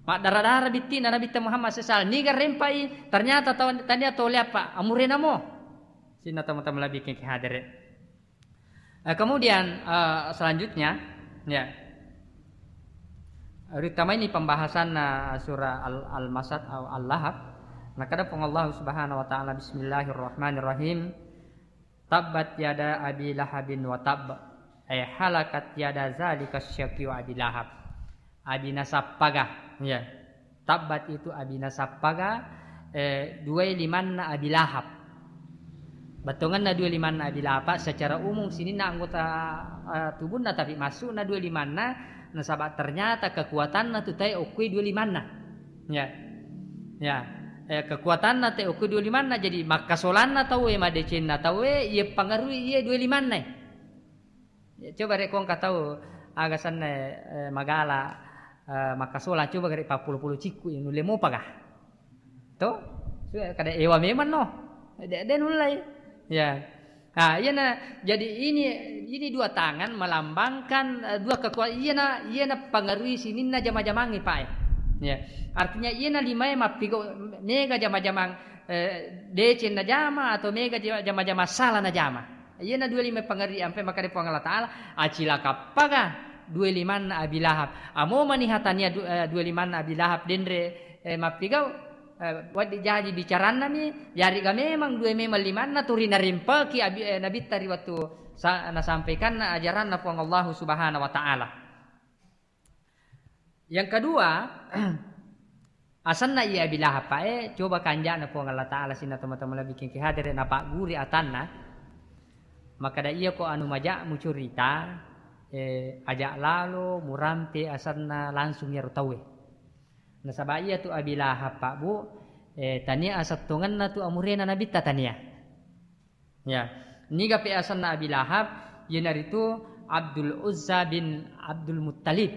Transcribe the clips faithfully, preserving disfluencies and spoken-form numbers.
Maddara-dara bitti'na Nabitta Muhammad sallallahu alaihi wasallam. Niga rempai, ternyata tau, tania tole apa, amurena mo. Sininna tomatoa malebbi ki hadere. Eh, kemudian, eh, selanjutnya, ya. Ritamai ini pembahasan, eh, surah Al-, Al-Masad atau Al-Lahab. Nakada Puang Allah Subhanahu wa taala, "Bismillahirrahmanirrahim. Tabbat yada Abi Lahabin wa tabb." Eh, halakat yada zalika syaqiyu Abi Lahab. Abi nasappaga. Ya. Tabbat itu abi nasappaga, eh, duai limanna Abi Lahab. Bettuangenna duai limanna Abi Lahab, secara umum sininna anggota, eh, tubunna, tapi massu'na duai limanna, nasaba ternyata kekuatanna tu tae okkui duai limanna. Ya. Ya. Eh, kekuatanna tae okkui duai limanna, jadi makkasolanna tauwe, madecenna tauwe, iya pangarui iya duai limanna. Ya, coba rek ko engka tau aga senna, eh, magala, eh, makkasolang, coba rek pappolo-polo cikku, ya, nulle mopa ga? To? Su-, kada ewa memang no. De, de nullai. Ya. Ah, iyana, jadi ini, ini dua tangan melambangkan, eh, dua kekuatan. Iyana, iyana pengaruhi sininna jama-jamangi, Pak, eh. Ya. Artinya iyana limae mappigau mega jama-jamang, eh, deceng najama atau mega ja-, jama-jama sala najama. Iyana dua lima pengaruhi ampe makade Puang Allah Ta'ala, acilakappaga dua limanna Abi Lahab. Amo maniha tania du-, eh, dua limanna Abi Lahab denre, eh, mappigau, eh, waddi jaji bicaranna mi, yariga memang dua memang limanna turi narimpaki Abi, eh, Nabitta ri wattu sa-, nasampaikanna ajaranna Puang Allahu Subhanahu wa Ta'ala. Yang kedua, asenna iya Abi Lahab, Pak, eh, coba kanja'na Puang Allah Ta'ala sininna tomatoa malebbi ki hadere napagguri atanna. Makkada, "Iya ko anu maja mucurita, eh, aja lalo murampe asenna langsung iyaro tauwe." Nasaba iya tu Abi Lahab, Pak, Bu, eh, tania asettongenna tu amurena Nabitta tania. Ya, niga pe asenna Abi Lahab, iyanaritu Abdul Uzza bin Abdul Muttalib.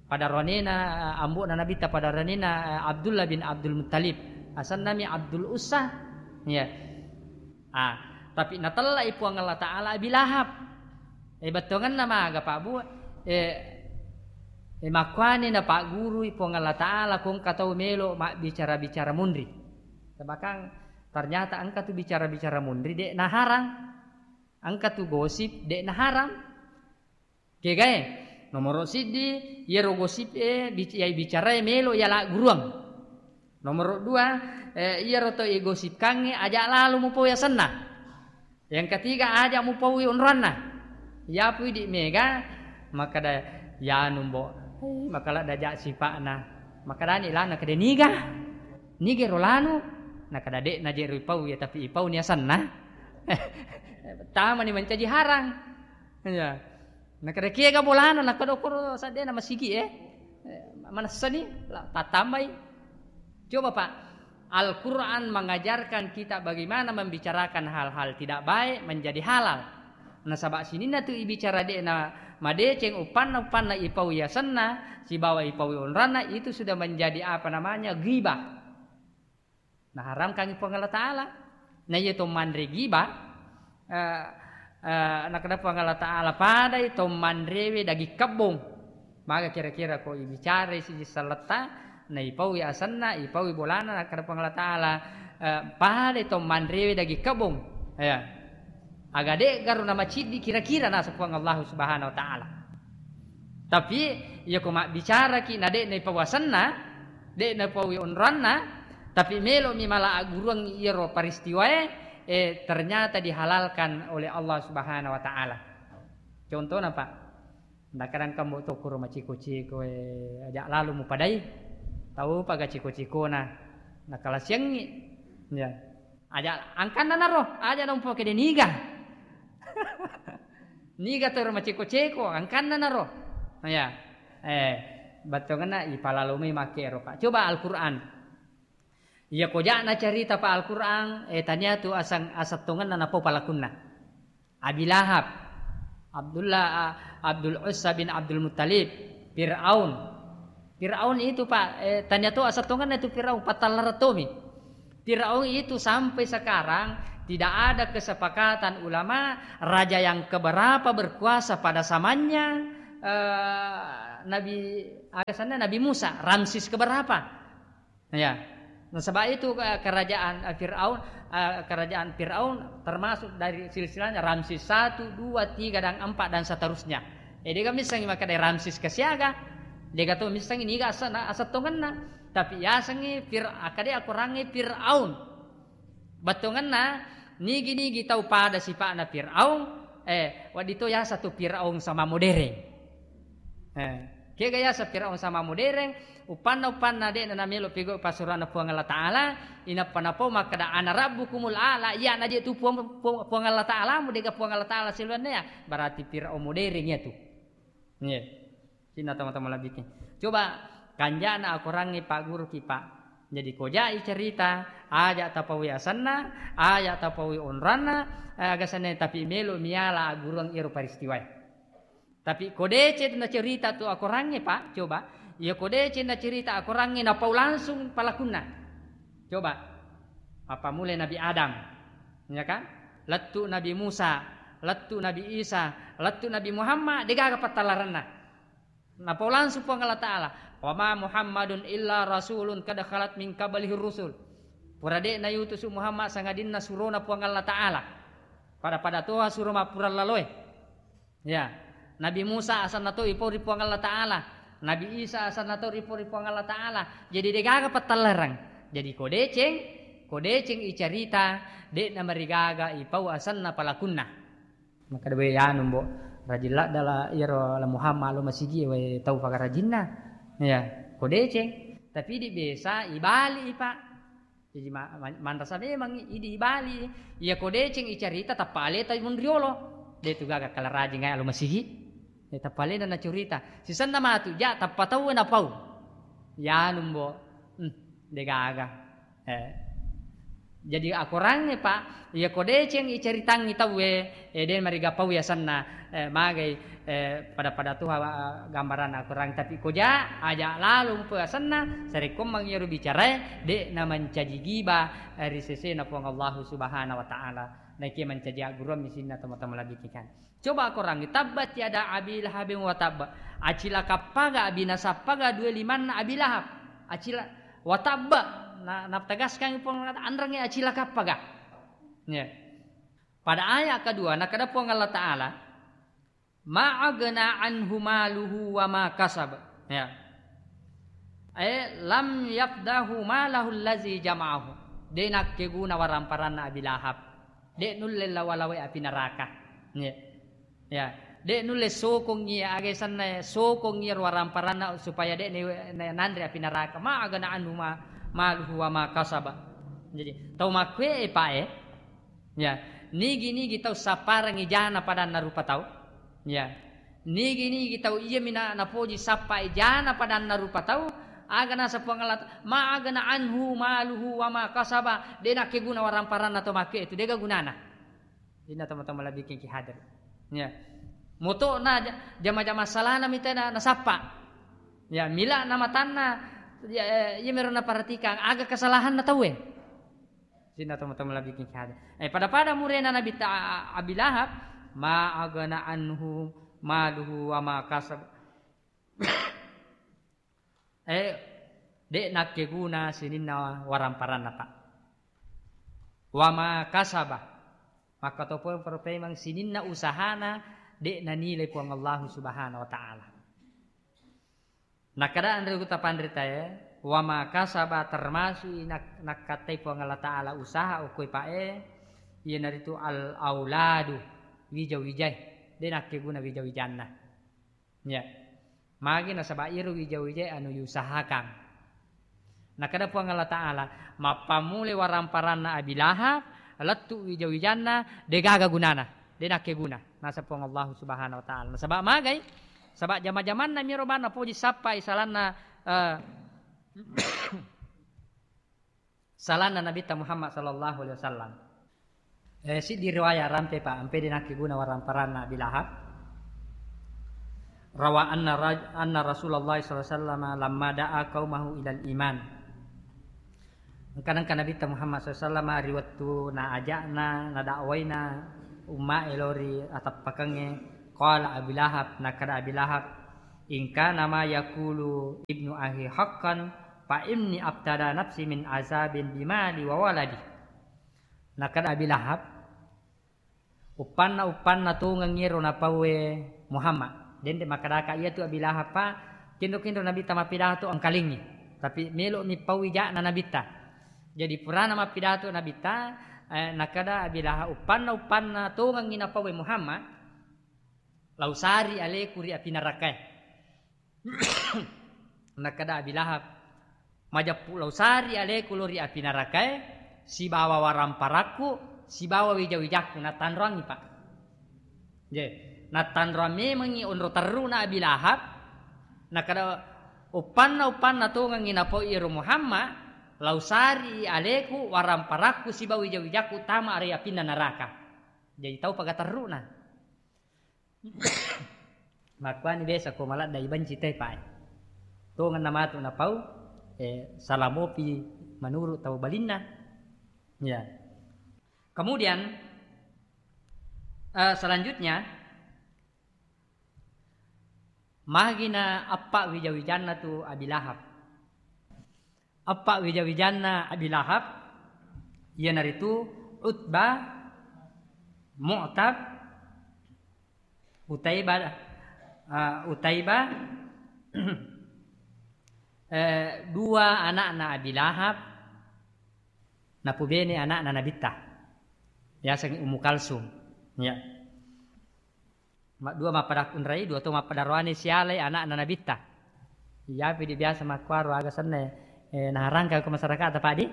Pada ronena, eh, ambo'na Nabitta pada ronena, eh, Abdullah bin Abdul Muttalib. Asennami Abdul Uzza. Ya. Ah, tapi natellai Puang Allah Ta'ala Abi Lahab. Eh, bettuangenna maga, Pak, Bu? Eh, eh, makkuani napaggurui Puang Allah Ta'ala, ko engka tau melo mabbicara-bicara munri. Bahkan ternyata engka tu bicara-bicara munri, de' naharang. Engka tu gosip, de' naharang. Kegae, nomoro siddi, iyaro gosip e, bic-, iya bicarae melo yala guruang. Nomoro dua, eh, iyaro to igosipkangnge aja lalo mupau yasenna. Yang ketiga, aja mupaui onroanna. Yapui di mega, makkada, "Yanu, Mbo, eh, makaladda ja sipa'na." Makkadani lana, "Kede niga? Niga ro lanu?" Nakada, "De' naje ro ipau ya, tapi ipau ni asenna." Tamani mancaji harang. Iya. Nakada, "Kiega bolana?" Nakada, "Koro saddena masigi e." Eh, manessani, la-, tattambai. Coba, Pak, Al-Quran mengajarkan kita bagaimana membicarakan hal-hal tidak baik menjadi halal. Nasaba sininna tu ibicara de'na madeceng uppanna, uppanna ipau yasenna, sibawa ipau onranna, itu sudah menjadi apa namanya, ghibah. Naharamkangngi Puang Allah Ta'ala. Na iya to manre giba, eh, eh, nakada Puang Allah Ta'ala, padai to manrewe daging kebbong. Maga kira-kira ko ibicarai siji selletta, na ipaui asenna, ipaui bolana, nakada Puang Allah Ta'ala, eh, padai to manrewe daging kebbong. Ya. Aga de'garo namaciddi kira-kira, naseng Puang Allah Subhanahu wa Ta'ala. Tapi, iya ko mabbicaraki na de'na ipau asenna, de'na ipaui onroanna, tapi melo'mi mala agguruang iyaro peristiwae, eh, ternyata dihalalkan oleh Allah Subhanahu wa Ta'ala. Contohna, Pak, nakadang kambo tokkoro maciko-ciko, eh, aja lalo mupadai, tau paga ciko-cikona, nakalasiangngi. Ya. Aja angkanna naro, aja nampa kede niga. Niga toro maceko-ceko, angkanna naro. Ya. Eh, bettuanna ipalalo mai makkero, Pak. Coba Al-Quran. Iya ko ja'na carita, Pak, Al-Quran, eh, tania tu asang, asettongenna napau palakunna. Abi Lahab, Abdullah, Abdul Uzza bin Abdul Muttalib, Fir'aun. Fir'aun itu, Pak, eh, tania to asettongenna itu Fir'aun, pattallarattomi. Fir'aun itu sampai sekarang tidak ada kesepakatan ulama, raja yang keberapa berkuasa pada zamannya, eh, Nabi Aga asenna Nabi Musa, Ramses keberapa? Ya. Nasaba itu, eh, kerajaan, eh, Firaun, eh, kerajaan Firaun termasuk dari silsilahnya Ramses satu, dua, tiga, dan empat, dan seterusnya. Eh, dega missengngi makkeda Ramses kesiaga, dega to missengngi niga asa-, asettongenna. Tapi yasengngi Fir-, akkeda akorangnge Firaun. Bettuangenna, nigi-nigi tau pada sipa'na Firaun, eh, wedding to yaseng tu Firaun sama modern. Eh, kega yaseng Firaun sama modern, uppanna-uppanna de'na namelo pigau pasuranna Puang Allah Ta'ala, inappa napau makkeda, "Ana rabbukumul a'la," iya naje tu Puang, Puang, Puang Allah Ta'ala, mu dega Puang Allah Ta'ala siluanna ya, berarti Firaun modern ya tu. Iya. Cinna teman-teman lebih. Coba kanjana akorangnge Pak Guru ki, Pak. Jadi kojai cerita, aja tapawi asenna, aja tapawi onranna, eh, aga senna, tapi melo miala agurung iro peristiwae. Tapi ko deceng na cerita tu akorangnge, Pak, coba. Iya ko deceng na cerita akorangnge napau langsung palakunna. Coba. Apa mulai Nabi Adam, ya kan? Lettu Nabi Musa, lettu Nabi Isa, lettu Nabi Muhammad, degaga pattallarenna. Napau langsung Puang Allah Ta'ala, "Wa ma Muhammadun illa rasulun qad khalat min qablihi rusul." Pura de'na yutusu Muhammad sangadinna surona Puang Allah Ta'ala. Pada-pada toha suro mappura laloe. Ya, Nabi Musa asenna to ipau ri Puang Allah Ta'ala. Nabi Isa asenna to ripau ri Puang Allah Ta'ala. Jadi degaga pattallereng. Jadi ko deceng, ko deceng icarita, de'na marigaga ipau asenna palakunna. Makkeda, "Wé, anu, Mbok, rajin ladda la iyaro la Muhammad lo masigi, wé, tau pagarajinna." Ya, ko deceng. Tapi di biasa ibali, Pak. Jadi ma-, ma-, manrasa memang idi ibali. Iya ko deceng icarita tappa aleta mun riolo. De tu gaga kala rajing ai lo masigi. Ya, tappa alena nacurita. Sisenna matu, ja, tappa tau na pau. Ya, anu, Mbok. Hmm, de gaga. Eh. Jadi akorangnge, Pak, iya ko deceng icaritangngi tauwe, eh, de mariga pau yasenna, eh, magai, eh, pada-pada tuha, eh, gambaranna akorang, tapi ko ja, aja lalo mupa yasenna, sarekkommang iyaro bicarae, de na mancaji giba, eh, ri sesena Puang Allahu Subhanahu wa Ta'ala. Naikia mancaji agguruammi sininna tomatoa malebbi'e kan. Coba akorangngi, tabbat yada Abi Lahabin wa tabba. Acilakappaga, abinasappaga dua limanna Abi Lahab. Acila-, wa tabba. Na, nategaskan Puang Allah Ta'ala, anrengnge acilakappaga. Ya. Pada ayat kedua, nakada Puang Allah Ta'ala, "Ma agna anhu maluhu wa ma kasab." Ya. Eh, lam yafdahu malahu allazi jama'ahu. De nakkeguna waramparanna Abi Lahab. De nulle lawa-lawai api neraka. Ya. Ya. De nulle sokongngi aga senna sokongngi waramparanna supaya de ne, ne, nanre api neraka. Ma agna anhu ma, maluhu wa ma kasaba. Jadi, tau makkue, Pak, eh. Ya. Nigi-nigi tau sapparangngi jana padanna rupa tau. Ya. Nigi-nigi tau iya mina napoji sappai jana padanna rupa tau, aga nasa Puang Allah Ta-, ma agna anhu maluhu wa ma kasaba, de nakkeguna waramparanna to makke itu, dega gunana. Inna teman-teman lebih ki hadir. Ya. Moto na ja-, jama-jama salana mitena nasappa. Ya, mila na matanna, ya, eh, iya mero naperhatikan aga kesalahanna tauwe. Sinna tomatoa malebbi'e ki hadir. Eh, pada-pada murena Nabi ta-, Abi Lahab, "Ma agna anhu maluhu wa ma kasab." Eh, de nakkeguna sininna waramparanna, Pak. Wa ma kasaba. Makkatopo-, poro pemang sininna usahana de nanilai Puang Allahu Subhanahu wa Ta'ala. Nakkeda anre uta panritae, wa ma kasaba termasuk i nak-, nakkattai Puang Allah Ta'ala usaha okkoe pae, iyanaritu al auladu, wija-wijae, de nakkeguna wija-wijanna. Ya. Magi nasaba iro wija-wijae anu diusahakan. Nakkeda Puang Allah Ta'ala, mappammule waramparanna Abi Lahab, lettu wija-wijanna, degaga gunana, de nakkeguna. Nasa Puang Allah Subhanahu wa Ta'ala. Nasaba magai, saba jama-jamanna miro bana poji sappai salanna, eh, salanna Nabitta Muhammad sallallahu alaihi wasallam. Eh, siddi riwayat rampe, Pak, ampe de nakkeguna waramparanna Abi Lahab. Rawa anna raj-, anna Rasulullah sallallahu alaihi wasallam lamma da'a qaumahu ilal iman. Engka-, engka Nabitta Muhammad sallallahu alaihi wasallam ri wettu na ajakna, na dakwaina ummae lao ri atappakengnge, qala Abi Lahab, nakkeda Abi Lahab, "In kana ma yaqulu ibnu akhi haqqan, fa inni abtada nafsi min azabin bimali wa waladi." Nakkeda Abi Lahab, "Uppanna-uppanna tongengngi ero napauwe Muhammad." Dende makkedaka iyatu Abi Lahab, Pak, kinro-kinro Nabitta mappidato engkalingngi. Tapi melo'mi paui ja'na Nabitta. Jadi purana mappidato Nabitta, eh, nakkeda Abi Lahab, "Uppanna-uppanna tongengngi napauwe Muhammad, lausari aleku ri api narakae." Nakkeda Abi Lahab, "Majeppu lausari aleku lao ri api narakae, sibawa waramparakku, sibawa wija-wijakku." Nattanroangngi, Pak. Je, nattanroang memengngi onro terruna Abi Lahab, nakkeda, "Uppanna-uppanna tongengngi napau iyaro Muhammad, lausari aleku, waramparakku, sibawa wija-wijakku tama ri apinna naraka." Jadi tau paga terruna. Makkuani biasa ko maladda ibenci te, Pak. Tongenna matu napau, eh, salamopi menurut tau balinna. Ya. Kemudian, eh, selanjutnya, magina eppa wija-wijanna tu Abi Lahab. Eppa wija-wijanna Abi Lahab, iyanaritu Utbah, Mu'tab, Utaibah, eh, Utaibah, eh, dua anakna Abi Lahab, napubene anakna Nabitta, yasengnge Ummu Kalsum. Ya. Maddua mappada kunrai, dua to mappada roane sialai anakna Nabitta. Iyapi di biasa makkuaro aga senna, eh, naharangka ko masyarakat apa di?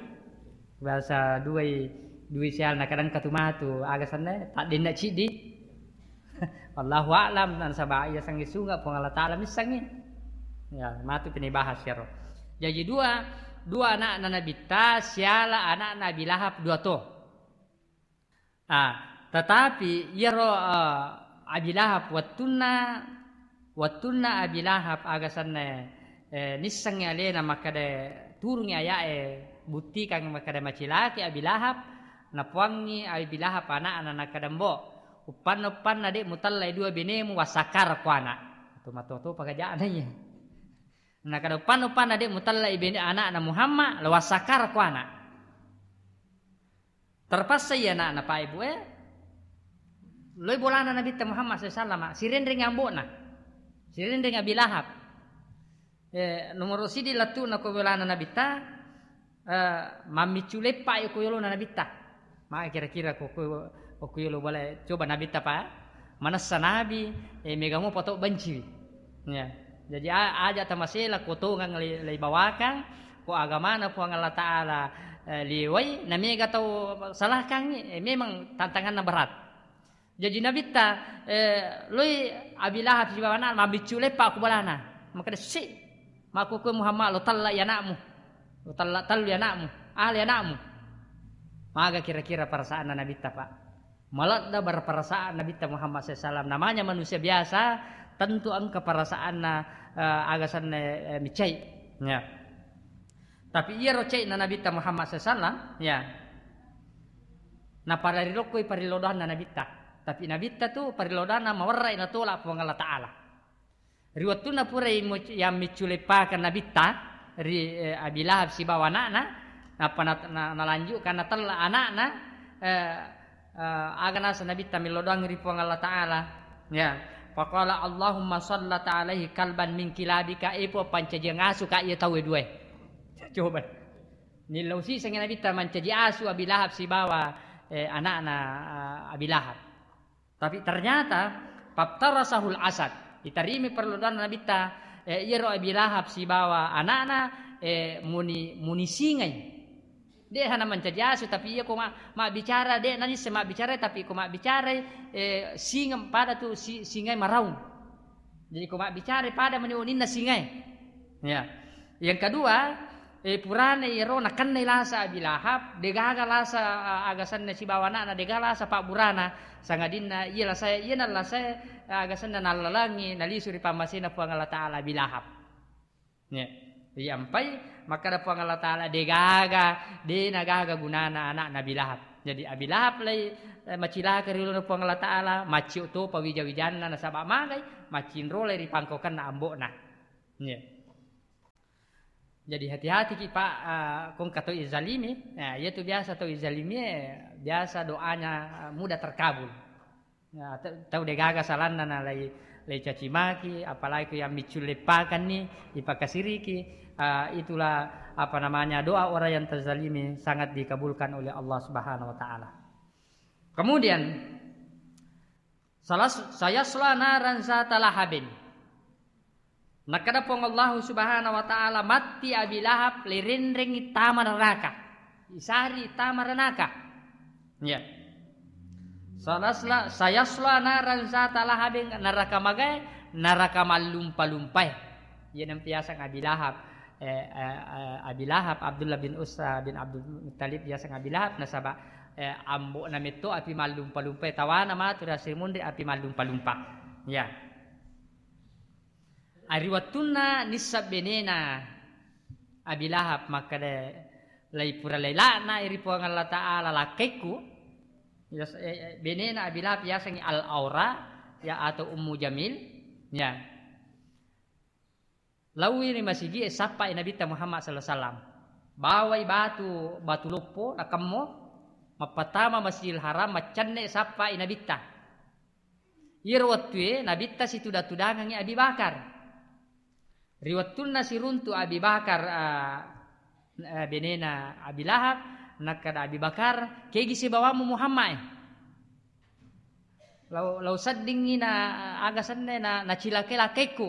Biasa duai, duai sial na kadang katu matu aga senna, tak denna cidi. Allahu a'lam, nasaba iya sangi sunga Puang Allah Ta'ala missangi. Ya, matu pini bahas yaro. Jadi dua, dua anakna Nabitta, siala anakna Abi Lahab dua to. Ah, tetapi iyaro, eh, Abi Lahab wettunna, wettunna Abi Lahab aga senna, eh, nissengngi alena makkeda turungi aya'e, buttikang makkeda macilaki Abi Lahab, napuangngi Abi Lahab ana'na nakkeda, "Mbo, uppanna-uppanna de' mutellai dua benemu, wassakkarakko ana'." Tu matoto pagaja'na iya. Nakkeda, "Uppanna-uppanna de' mutellai bene ana'na Muhammad, la wassakkarakko ana'." Terpaksa iya ana'na, Pak, Ibu, eh, loi bolana Nabitta Muhammad sallallahu alaihi wasallam, sirenreng ambo'na, sirenreng Abi Lahab. Eh, nomoro sidi lettu'na ko bolana Nabitta, eh, mammiccu leppa ko yolona Nabitta. Maka kira-kira ko, ko, ko yolo boleh coba Nabitta, Pak, manessa Nabi, eh, mega mo poto benciwi. Ya. Jadi, a-, aja tamasela ko tongang le-, leibawakang, ko agamana Puang Allah Ta'ala, eh, liwai, na mega tau salahkangngi, eh, memang tantanganna berat. Jadi Nabitta, eh, loi Abi Lahab sibawa ana' mabbiccu leppa ku bolana. Makkeda, "Si, makkukue Muhammad lo tella i ana'mu. Lo tella tellu i ana'mu. Ahli ana'mu." Maga kira-kira perasaanna Nabitta, Pak? Maladda berperasaan Nabitta Muhammad sallallahu alaihi wasallam. Namanya manusia biasa, tentu engka perasaanna, eh, aga senna, eh, micai. Ya. Tapi iyaro cai'na Nabitta Muhammad sallallahu alaihi wasallam, ya. Napararilokkoi parillodoanna Nabitta. Tapi Nabitta tu parillodoanna mawerrai natola Puang Allah Ta'ala. Ri wettunna purai mu-, yang miccu leppakeng Nabitta ri, eh, Abi Lahab sibawa ana'na, nappa na-, na-, nalanjutkan natella ana'na, eh, eh, aga naseng Nabitta millodoang ri Puang Allah Ta'ala. Ya. Faqala, "Allahumma sallat alaihi kalban min kilabika," eh, Puang, pancajiang asu ka iya tauwe duae. Coba. Nillau sisengngi Nabitta mancaji asu Abi Lahab sibawa, eh, ana'na, eh, Abi Lahab. Tapi ternyata, "Faftarasahul asad." Itarimi perlu doanna Nabitta, eh, iyaro Abi Lahab sibawa ana'na, eh, muni, muni singai. De' hana mancaji asu, tapi iya ko ma-, mabbicara, de' nanisse mabbicara, tapi ko mabbicara, eh, singa pada tu si-, singai maraung. Jadi ko mabbicara pada mani uninna singai. Ya. Yang kedua, eh, purana iyaro nakennai lasa Abi Lahab, degaga lasa, a-, aga senna sibawa ana'na, degaga lasa pabburana, sangadinna iya lasae, iyana lasae, aga senna nallalangi, nalisu ri pammasena Puang Allah Ta'ala Abi Lahab. Ya. Iyampai, makkada Puang Allah Ta'ala, degaga, de nagaga gunana ana'na Abi Lahab. Jadi Abi Lahab lai, eh, macilaka ri ulunna Puang Allah Ta'ala, maccio topa wija-wijanna nasaba magai, maccinrolai ri pangkokenna ambo'na. Iya. Jadi hati-hati ki, Pak, eh, kongka tau izalimi. Nah, iya tu biasa tau izalimi, eh, biasa doanya, eh, mudah terkabul. Ya, te-, tau degaga salanna na lai, lai caci maki, apalagi ku yang miccu leppakanni, ipakasiriki, ah, itulah, apa namanya, doa orang yang terzalimi sangat dikabulkan oleh Allah Subhanahu wa Ta'ala. Kemudian, salas-, sayasla naran zata lahabin. Nakkeda Puang Allahu Subhanahu wa Ta'ala, matti Abi Lahab, lirenrengngi tama neraka. Isari tama neraka. Ya. Salasla, sayasla naran zata lahabin, neraka magae, neraka mallumpa-lumpae. Iya nampiasang Abi Lahab. Eh, eh, eh, Abi Lahab, Abdullah bin Usa bin Abdul Muttalib, biasang Abi Lahab, nasaba, eh, ambo'na metto api mallumpa-lumpae, tawana matu ri asri munri api mallumpa-lumpa. Ya. Ari wettunna nisseng benena Abi Lahab makkeda, "Lai pura lai laknai ri Puang Allah Ta'ala lakkaikku." Yas-, eh, eh, benena Abi Lahab yasengngi Al-Aura, ya, atau Ummu Jamil. Ya. Laui ri masigi'e sappai Nabitta Muhammad sallallahu alaihi wasallam. Bawai batu, batu loppo, nakemmo, mappatama Masjidil Haram, maccenne sappai Nabitta. Iyaro wettue Nabitta situda-tudangengngi Abi Bakar. Ri wettunna siruntu Abi Bakar, ah, eh, benena Abi Lahab, nakkeda Abi Bakar, "Kegi sibawammu Muhammad e? Lau, lau seddingngi na aga senne na, nacilakai lakkaikku.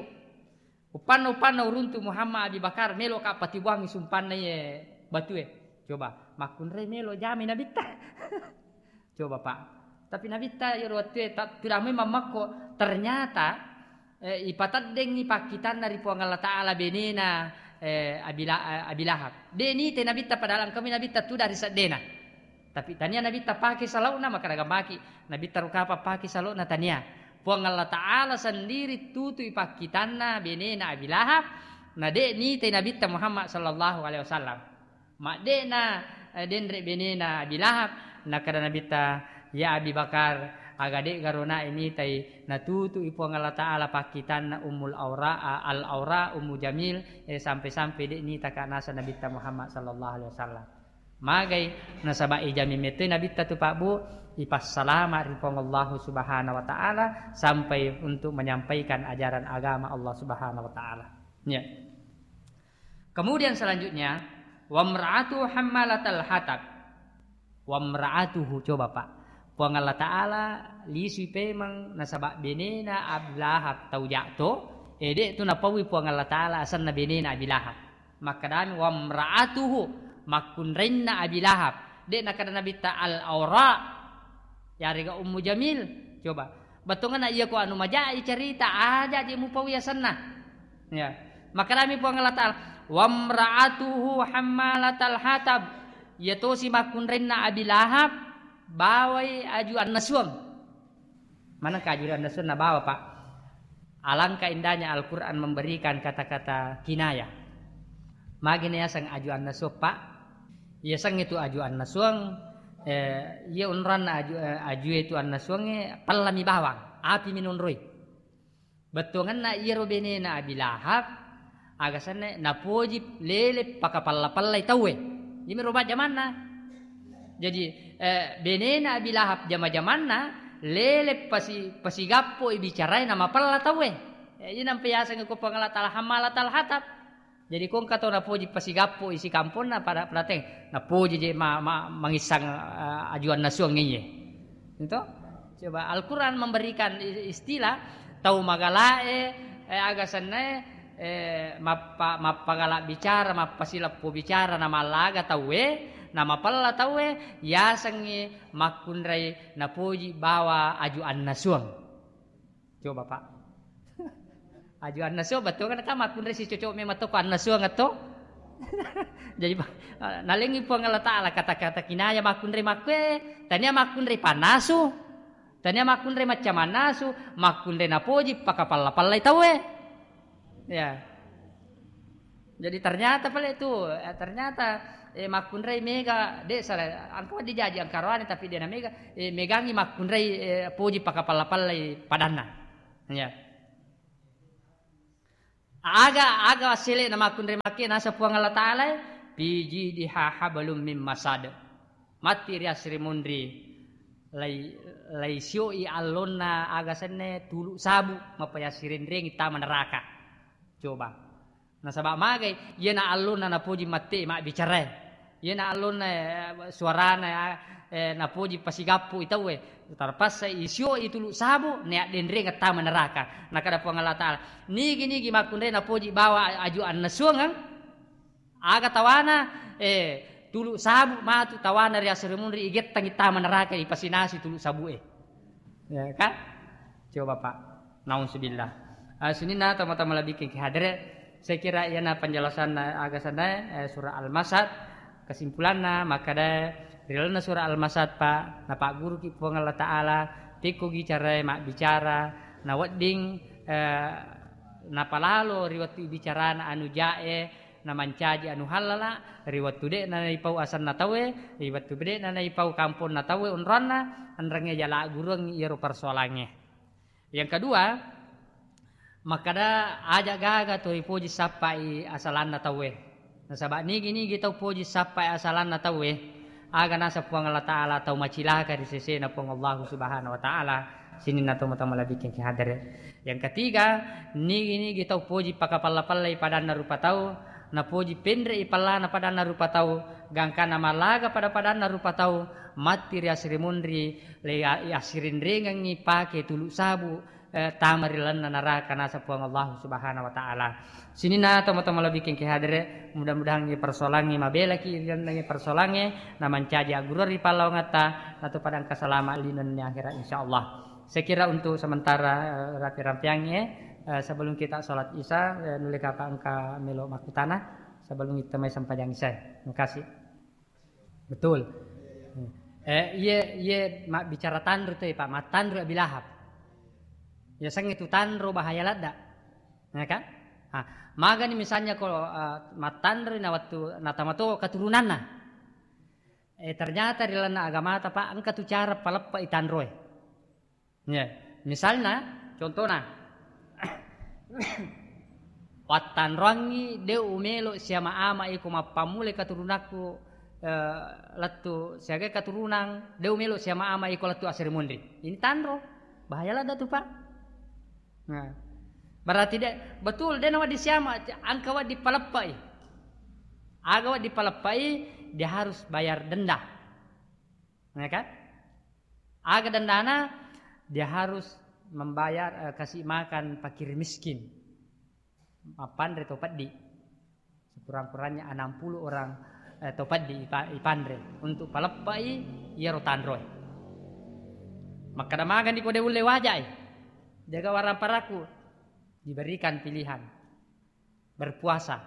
Uppanna, uppanna uruntu Muhammad Abi Bakar, meloka patibuangngi sumpanna iye batue." Coba, makkunrai melo jamai Nabitta. Coba, Pak. Tapi Nabitta iyaro wettue ta-, tudang memang makko. Ternyata, eh, ipateddengngi pakkitanna ri Puang Allah Ta'ala benena, eh, Abi La-, eh, Abi Lahab. De' nitai Nabitta, padahal engkami Nabitta tudang ri seddena. Tapi tania Nabitta pake salokna, makkeda maki Nabitta rupa pake salokna, tania. Puang Allah Ta'ala sendiri tutui pakkitanna benena Abi Lahab, na de' nitai Nabitta Muhammad sallallahu alaihi wasallam. Madde'na, eh, denre benena Abi Lahab, nakkeda Nabitta, "Ya Abi Bakar, aga de'garo nae mitai natutui Puang Allah Ta'ala pakkitanna Ummul Aura, a-, Al-Aura, Ummu Jamil, eh, sampai-sampai de' nitaka naseng Nabitta Muhammad sallallahu alaihi wasallam." Magai, nasaba ijami metoi Nabitta tu, Pak, Bu, ipassalama ri Puang Allahu Subhanahu wa Ta'ala sampai untuk menyampaikan ajaran agama Allah Subhanahu wa Ta'ala. Ya. Kemudian selanjutnya, "Wamra'atu hammalatal hatab." Wamra'atuhu, coba, Pak. Puang Allah Ta'ala lisui pemeng nasaba benena Abi Lahab tau ja'to, eh, de' tu napaui Puang Allah Ta'ala asenna benena Abi Lahab. Makkedami, "Wamra'atuhu," makkunrainna Abi Lahab. De' nakkeda Nabitta al-aura, yarega Ummu Jamil. Coba. Bettuanna iya ko anu maja'i cerita, aja je mupaui asenna. Ya. Makkedami Puang Allah Ta'ala, "Wamra'atuhu hammalatal hatab." Iya tosi makkunrainna Abi Lahab, bawai aju annasuang. Manengka aju annasuang nabawa, Pak? Alangkah indahnya Al-Quran memberikan kata-kata kinayah. Magi na yaseng aju annasuang, Pak? Yaseng itu aju annasuang, eh, iya onroanna aju, eh, aju itu annasuangnge, pellami bawang, api minonroi. Bettuangenna iyaro benena Abi Lahab, aga senna napoji lele pakapella-pellai tauwe. Iyami ro majjamanna. Jadi, eh, benena Abi Lahab jama-jamanna lele pasi-, pasigappoi bicarae namapella tauwe. Eh, iya nampa yaseng ko Puang Allah Ta'ala hammalatal hatab. Jadi, ko engka tau napoji pasigappo isi kamponna pada, pada teng, napoji je ma-, ma-, mangissang, eh, aju annasuang iye. Itu? Coba Al-Quran memberikan i-, istilah tau magalae, eh, aga sennae, eh, mappa-, mappagala bicara, mappasileppo bicara, namallaga tauwe, namapella tauwe, yasengngi makkunrai napoji bawa aju annasuang. Coba, Pak. Aju annasuang, bettuanna kan makkunrai sicocok memang to ko annasuang to. Jadi, Pak, nalengngi Puang Allah Ta'ala kata-kata kinaya makkunrai makkue, tania makkunrai pannasu, tania makkunrai macca mannasu, makkunrai napoji pakapalla-pallai tauwe. Ya. Jadi ternyata pale tu, eh, ternyata, eh, makkunrai mega, de' salah, engka wedding jaji engka roane tapi de' na mega, eh, megangi makkunrai, eh, poji pakapalla-pallai padanna. Ya. Aga, aga sele'na makkunrai makke nasa Puang Allah Ta'ala, "Fi jidiha hablum min masad." Matti ri asri munri, lai, lai sioi allonna aga senne tulu sabu, mappayassirenrengi tama neraka. Coba. Nasaba magai, iyana allonna napoji matti mabbicarae. Iyana allonna, eh, suarana, eh, napoji pasigappu i tauwe. Tarpassa isio i tulu sabu, neaddenrengeng tama neraka. Nakada Puang Allah Ta'ala, "Nigi-nigi makkunrai napoji bawa aju annesuangeng, aga tawana, eh, tulu sabu matu tawana ri asri munri igettangi tama neraka ipasinasi tulu sabue." Ya kan? Coba, Pak. Nauzubillah. Ah, sininna tama-tama lebih ke hadere. Saya kira iyana penjelasan aga sanna, eh, surah Al-Masad. Kesimpulanna, makkada ri lalenna surah Al-Masad, Pak, napagguruki Puang Allah Ta'ala, pekkogi carae mabbicara, nawedding, eh, napalalo ri wettu ibicarana anu jae, namancaji anu hallala, ri wettu de'na naipau asenna tauwe, ri wettu de'na naipau kamponna tauwe onroanna, enrengnge jala gureng iyaro persoalangnge. Yang kedua, makkada aja gaga to ripoji sappai asalanna tauwe. Nasaba nigi-nigi tau poji sappai asalanna tauwe, aga nasa Puang Allah Ta'ala tau macilaka ri sesena Puang Allah Subhanahu wa Ta'ala, sininna tau mata malebbiking ki hadere. Yang ketiga, nigi-nigi tau poji pakapalla-pallai padanna rupa tau, napoji penre'i pallana padanna rupa tau, gangkana malaga pada padanna rupa tau, matti ri asri munri, le-, assirinrengengngi pake tulu sabu, eh, tama ri lalenna naraka nasa Puang Allah Subhanahu wa Ta'ala. Sininna tomatoa malebbiking ki hadere, mudah-mudahan ngi persoalangnge mabelaki ri lalenna ngi persoalangnge, namancaji aggurua ri pallawangatta, natu padang kasalama linenni akhirat insyaallah. Saya kira untuk sementara, eh, rapi-rampiangnge, eh, sebelum kita sholat isya, eh, nulle kapa engka melo makkutana sebelum kita mai sempajang isya. Terima kasih. Betul. Eh, iye, iye mabbicara tanro tu, Pak, mattanro Abi Lahab. Ya, sengnge tu tanro bahaya ladda. Ya kan? Ah, magani misalnya ko, eh, mattanro na wettu natamato keturunanna. Eh, ternyata ri lalenna agamata, Pak, engka tu cara paleppa i tanroe. Ya, misalna, contohna, wattanroangngi de' umelo siama-ama iko mappammulai katurunakku, eh, lettu siaga katurunang, de' umelo siama-ama iko lettu asri munri. Ini tanro, bahaya ladda tu, Pak. Nah, berarti de', betul, de' nawedding siama, angka wedding paleppai. Aga wedding paleppai, dia harus bayar denda. Ya kan? Aga dendana, dia harus membayar, eh, kasih makan fakir miskin. Mappanre to peddi. Sekurang-kurangnya enam puluh orang, eh, to peddi ipa-, ipanre untuk paleppai iyaro tanroe. Makkada magani ko de' ulle wajai. Jaga warang paraku. Diberikan pilihan. Berpuasa.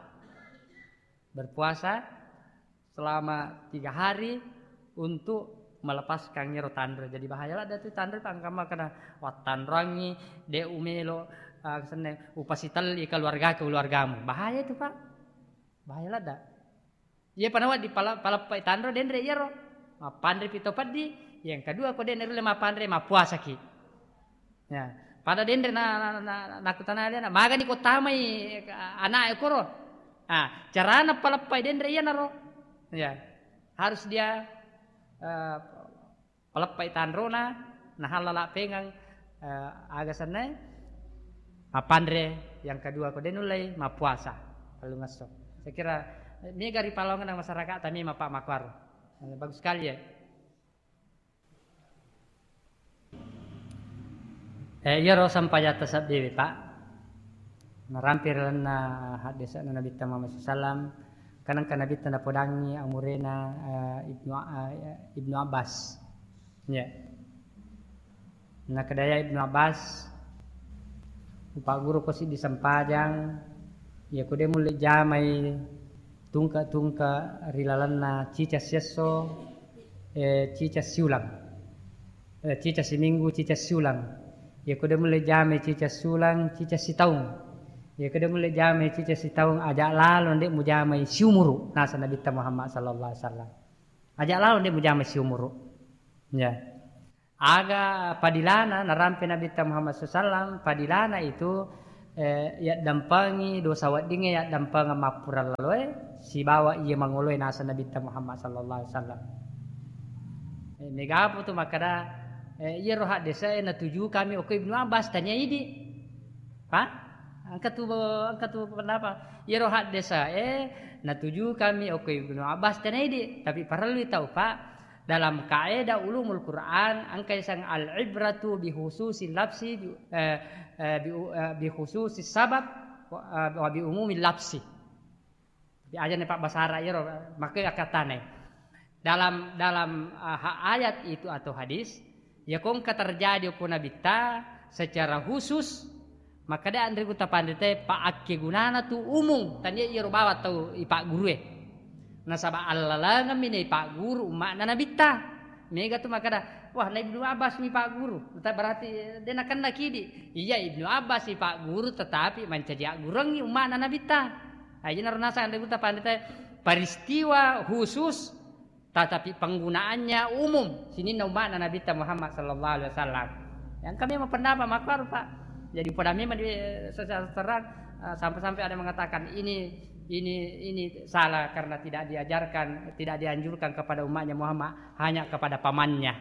Berpuasa selama tiga hari untuk melepaskan iyaro tanro. Jadi bahaya ladda tu tanro, pangkamma kena wattanroangngi, de' umelo, ah, senne, upasitelli keluarga, keluargamu. Bahaya itu, Pak. Bahaya ladda. Iya panawa di pala-, paleppai tanro denre iyaro. Mappanre pi to peddi, yang kedua ko de' narulle mappanre, mappuasaki. Ya, pada denre na, na, na, na, nakutanai alena, magani ko tamai, eh, anak e koro. Ah, carana paleppai denre iyanaro. Ya, harus dia, eh, paleppai tanrona, nahallala pengeng, eh, aga sennae, mappanre, yang kedua ko de' nullei, mappuasa, tellungesso. Saya kira, eh, mega ri palongenna masyarakat tami mappa makuaro. Eh, bagus sekali ya. Eh, iyaro sampajatta sabbiwi, Pak. Narampi ri lalenna haddese'na Nabitta Muhammad sallallahu alaihi wasallam, kan engka Nabitta napodangi amurena, eh, Ibnu, eh, Ibnu Abbas. Ya. Nakkedaya Ibnu Abbas, "Upagguruko siddi sempajang, iya ko de' mulle jamai tungke-tungke ri lalenna cica siesso, eh, cica siulang." Eh, cica siminggu, cica siulang. Iya ko de' mulle jamai cica siulang, cica sitaung. Iya, kedda mulle jamai cica sitaung, aja lalo nde mujamai siumuru, nasa Nabitta Muhammad sallallahu alaihi wasallam. Aja lalo nde mujamai siumuru. Ya. Aga padilana narampe Nabitta Muhammad sallallahu alaihi wasallam, padilana itu, eh, yaddampengi dosa weddingnge, yaddampengi mappura laloe, sibawa iya mangoloe nasa Nabitta Muhammad sallallahu alaihi wasallam. Eh, megapo tu makkada, eh, iyaro haddese e natuju kami okko Ibnu Abbas, tania idi. Pa? Engka tu, engka tu pendapat. Iyaro haddese e natuju kami okko Ibnu Abbas, tania idi. Tapi parellu tau, Pak, dalam kaedah ulumul Quran, engka iseng al-ibratu bi khususi lafsi, bi, eh, eh, bi, eh, bi khususi sabab, wa, eh, wa bi umumi lafsi. Tapi aja ne Pak basara iyaro, maka akkatanai. Dalam, dalam, eh, ha-, ayat itu atau hadis, ya kongka terjadi okko Nabitta secara khusus, maka de anre gutta panritae pa akkegunana tu umum, tania iyaro bawang tau ipaggurue. Nasaba allalengemmi naipagguru umma'na Nabitta. Mega tu makkada, "Wah, na Ibnu Abbas mi pagguru." Ta-, berarti, eh, de nakenna kidi. Iya, Ibnu Abbas mi pagguru, tetapi mancaji aggurengngi umma'na Nabitta. Nah, jadi naro nasang anre gutta panritae, peristiwa khusus, tetapi penggunaannya umum, sininna umma'na Nabitta Muhammad sallallahu alaihi wasallam. Yang kami mempendapat makar, Pak. Jadi pada memang di, eh, secara terang, eh, sampai-sampai ada mengatakan ini, ini, ini salah karena tidak diajarkan, tidak dianjurkan kepada umatnya Muhammad, hanya kepada pamannya.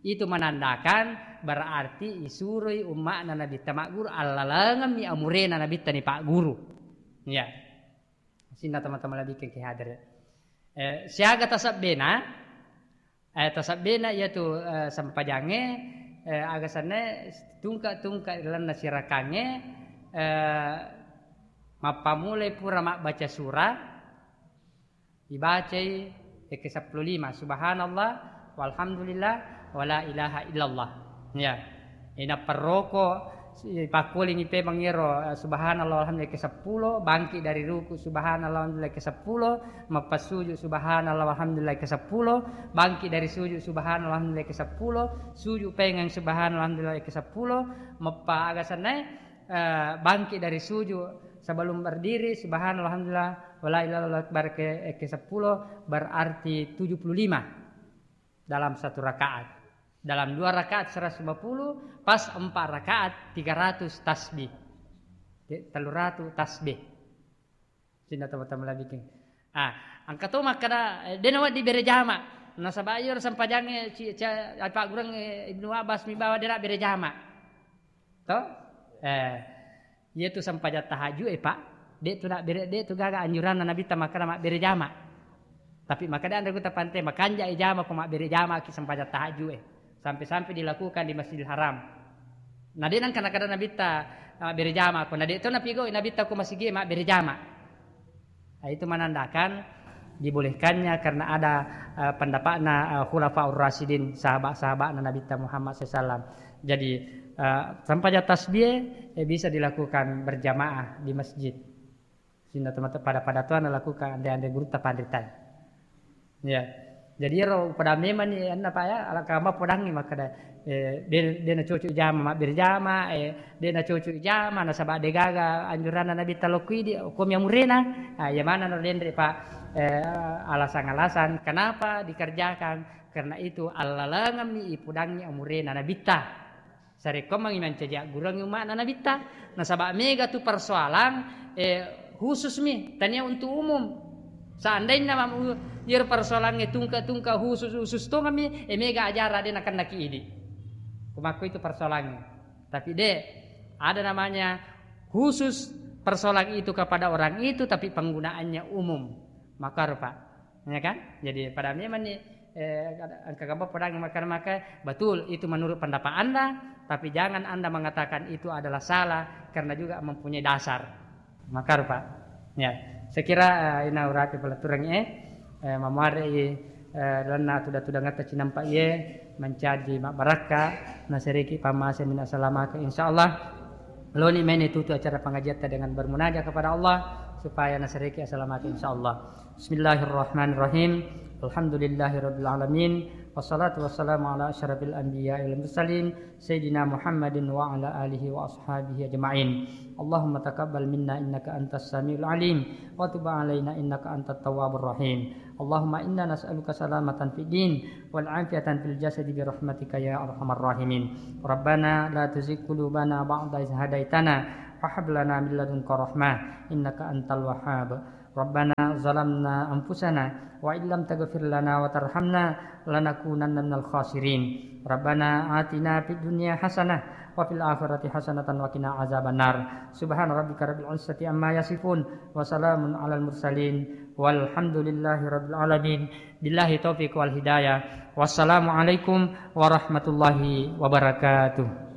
Itu menandakan berarti isuroi umma'na Nabitta magguru, allalengemmi amurena Nabitta ni pagguru. Ya. Sinna teman-teman lebih ke hadir. Eh, siaga tasabbena, eh, tasabbena iyatu, eh, sempajangnge, eh, aga senna tungka-tungka lalenna sirakangnge, eh, mappamulai pura mabbaca surah, ibacai ekke seppulo lima, subhanallah, walhamdulillah, wala ilaha illallah. Ya. Ina perroko, si-, pakkulingi pemeng ero, eh, subhanallah, walhamdulillah ke seppulo, bangkit dari ruku, subhanallah, walhamdulillah ke seppulo, mappasujud, subhanallah, walhamdulillah ke seppulo, bangkit dari sujud, subhanallah, walhamdulillah ke seppulo, sujud pengeng, subhanallah, walhamdulillah ke seppulo, mappa aga sennae, eh, bangkit dari sujud, sebelum berdiri, subhanallah, walhamdulillah, wala ilaha illallah akbar ke, eh, ke seppulo, berarti tujuh puluh lima dalam satu rakaat. Dalam dua rakaat seratus lima puluh, pas empat rakaat tiga ratus tasbih. Jadi, telu ratus tasbih. Cinna teman-teman lagi bikin. Ah, engka to makkada, eh, de nawedding bere jama. Nasaba iyaro sempajangnge ci-, ci-, apa gureng, eh, Ibnu Abbas mi bawa de nabbere jama. To? Eh, iyatu sempajang tahajud e, Pak. De tu nak bere, de tu gaga anjuranna Nabitta makkada mabbere jama. Tapi makkada anre gutta pante, makanja e jama ko mabbere jama ki sempajang tahajud e. Sampai-sampai dilakukan di Masjidil Haram. Na de nengka nakada Nabitta, ah, bere jama ko. Na de to napigau Nabitta ko masigi mabbere jama. Nah, itu menandakan dibolehkannya karena ada, eh, pendapatna, eh, Khulafaur Rasyidin, sahabat-sahabatna Nabitta Muhammad sallallahu alaihi wasallam. Jadi, eh, sempajang tasbih, eh, bisa dilakukan berjamaah di masjid. Sehingga teman-teman pada-pada tuan lakukan ande-ande gurutta panritai. Ya. Jadi ero pada memang ni anna Pak ya, ala kama podangi makkada, eh, de, de na cocok jama, mabbere jama, eh, de na cocok jama, nasaba de gaga anjuranna Nabitta lokko idi, ko mi amurena, ah, iya maneng no denre, Pak, eh, alasan-alasan kenapa dikerjakan, karena itu allalengemmi ipudangi amurena Nabitta. Sarekkoammengngi mancaji agguruangngi umma'na Nabitta. Nasaba mega tu persoalan, eh, khusus mi, tania untuk umum. Seandainya mam-, iyaro persoalangnge tungka-tungka khusus, khusus tongeng mi, eh, mega ajarang de nakennaki idi. Kumakko itu persoalangnge. Tapi de, ada namanya khusus persoalan itu kepada orang itu, tapi penggunaannya umum. Maka rupa. Ya kan? Jadi pada memang ni, eh, kada-, engka gamba podang makan-makan, betul itu menurut pendapat Anda, tapi jangan Anda mengatakan itu adalah salah karena juga mempunyai dasar. Maka rupa. Ya, saya kira, eh, ina urati pelaturang, eh, eh, mamuare, eh, lalenna tuda-tudangetta cinampa iye mancaji mabbarakka, nasereki pamase minna salamaka, insyaallah. Loni mene tutu acara pengajiatta dengan bermunajat kepada Allah supaya nasereki asalamaka, insyaallah. Bismillahirrahmanirrahim. Alhamdulillahirabbil alamin. Wassalatu wassalamu ala asyrafil anbiya'i wal mursalin, Sayyidina Muhammadin wa ala alihi wa ashabihi ajma'in. Allahumma taqabbal minna innaka antas samiul alim, wa tub alaina innaka antat tawwabur rahim. Allahumma inna nas'aluka salamatan fid din, wal afiyatan fil jasadi bi rahmatika ya arhamar rahimin. Rabbana la tuzigh qulubana ba'da idh hadaitana, wa hab lana min ladunka rahmah, innaka antal wahhab. Rabbana zalamna anfusana wa illam taghfir lana wa tarhamna lanakunanna minal khasirin. Rabbana atina fid dunya hasanah wa fil akhirati hasanatan wa qina azabannar. Subhana rabbika rabbil izzati amma yasifun wa salamun alal mursalin walhamdulillahi rabbil alamin. Billahi taufiq wal hidayah. Wassalamualaikum warahmatullahi wabarakatuh.